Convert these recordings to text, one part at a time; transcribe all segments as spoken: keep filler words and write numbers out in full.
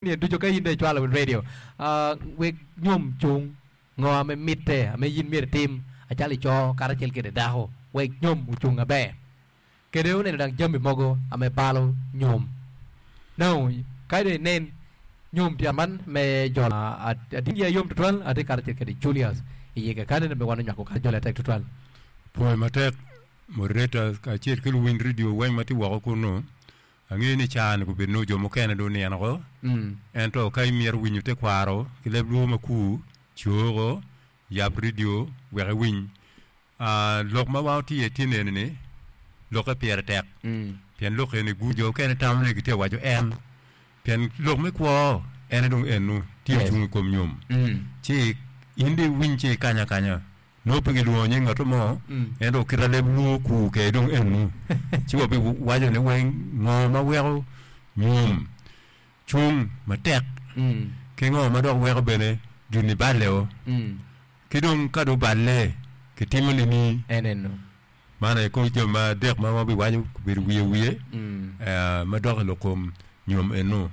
Ni ducu ka in dong icwalo radio uh, wek nyom cung ngo ame mitte ame in myero itim acalo ico karacel kede dako wek nyom ocung aber kede oneno dang jami mogo ame balo nyom no ka dong inen nyom tye man me jolo atye yom tutwal atye karacel kede Julius iye kakane me wan onywako ka jolo atek tutwal Pwoyo matek moderator kacel ki luwiny radio weng ma tye woko kunu angeyo ni caa-ni gubedo nongo jo mukene dong onino ko mm. ento ka imito winyo tekwaro ki leb luo makur coko yab radio wek iwiny Ah, lok ma wan watye iye tin eni-ni lokke pire tek Mm. pien lok eni gu jo okene tamo ni gitye ka waco en pien lok me kwo ene dong enu tye Yes. ocung i kom nyom Mm. ci in dong iwiny ci ikanya akanya nongo pe gilwongo nying ngato mo Mm. ento kita leb luo kur kede dong enu ci wabiwaco ni weng ngo ma weko nyom cung matek Mm. ki ngo ma dok weko bene gini baleo Mm. ki dong ka dong oballe kitimo nini En eno man aye kor jami ma adek ma wabiwaco obedo wiye wiye Mm. eh, ma dok i lok kom nyom enu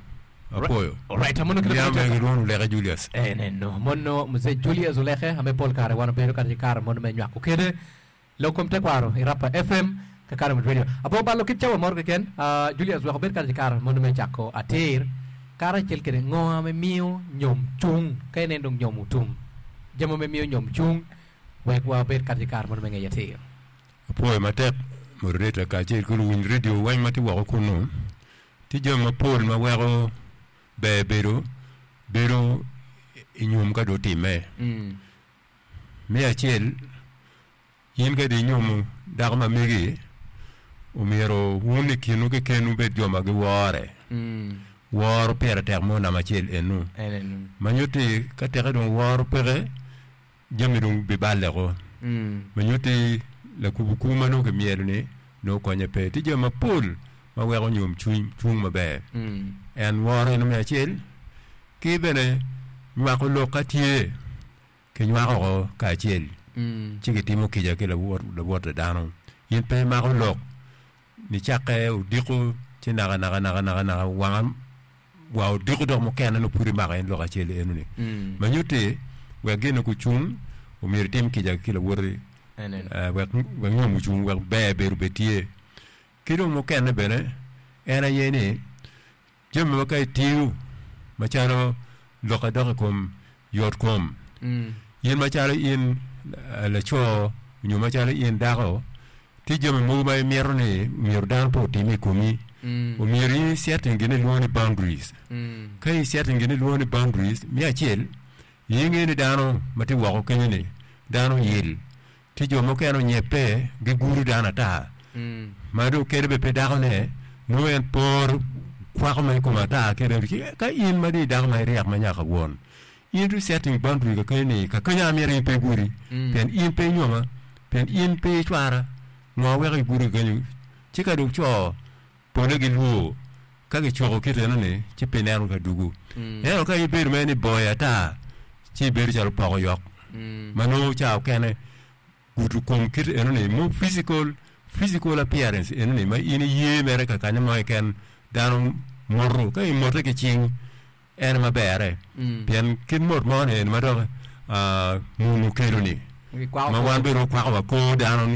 apwoyo Alright, amono kite Niam matek. me gilwongo Oleke Julius En eno mono mzee Julius Oleke ame pol kare wan obedo kare ki kare mono me nywako kede lok kom tekwaro i Rapa FM kakare mit radio abo balo kit cawa moro keken uh, Julius wek obed kare ki kare mono me cako atir karacel kede ngo ame miyo nyom cung ka inen dong nyom otum jami me miyo nyom cung wek wabed kare ki kare mono me ngeyo atir apwoyo matek moderator kacel ki luwiny radio weng ma tye woko kunu tye jami mapol ma weko ber bedo bedo i nyom ka dong otimme mm. Me acel in ka dong inyomo dako ma megi omyero wun i kinwu keken wubed jo ma giwore Mm. woro pire tek mo namba acel enu En eno ma nyutti ka teke dong woro peke jami dong biballe ko mm. ma nyutti lakubo kur ma nongo kimyelo ni nongo konye pe tye jami mapol ma weko nyom cwiny cung maber Mm. en woro eno me acel ki bene nywako lok ka tye kinywako oko kacel Mm. ci kitimo kica ki lawot lawot dano in pe imako lok nicakke odiko ci naka naka naka naka naka wanga wa odiko dok mukene nongo pud imako en lok acel eno-ni Mm. ma nyutti wek gin kucung omyero itim kica ki lawoti En eno eh, wek wek nyom ocung wek ber bedo bed tye ki dong mukene bene en aye ni jami ma ka itiyo macalo lok adok i kom yot kom Mm. in macalo in eh, laco nyo macalo in dako tye jami mogo ma imito ni myero dano pe otim i komi Mm. omyero in isetting gin ilwongo ni boundaries Mm. ka isetting gin ilwongo ni boundaries me acel inge ni dano ma tye woko kenyo ni dano yil tye jo mukene onyepe gigudo dano ata Mm. ma dong kede bene pe dakone nongo en por kwako ma i kome ata kede ci ka in ma dong i dako ma iryek ma nyaka won in dong setting boundary ka kenyo ni ka kenyo amito in pe igudi Mm. pien in pe inyoma pien in pe icwara ngo weko igudi kenyo ci ka dong co pole gilwor ka gicoko kit eno-ni ci pe ineno ka dugu Mm. ento ka ibedo mere ni boy ata ci ibedo calo poko yok Mm. ma nongo ca okene gudo kom kit eno-ni mo physical physical appearance eno-ni ma in iye mere ka kanyo mo keken dano moto ka imote ki cing en maberre Mm. pien kit mot mo ni eni ma dok ah, munu okelo ni Gikwako ma wan kor. bene okwako wa kor dano ni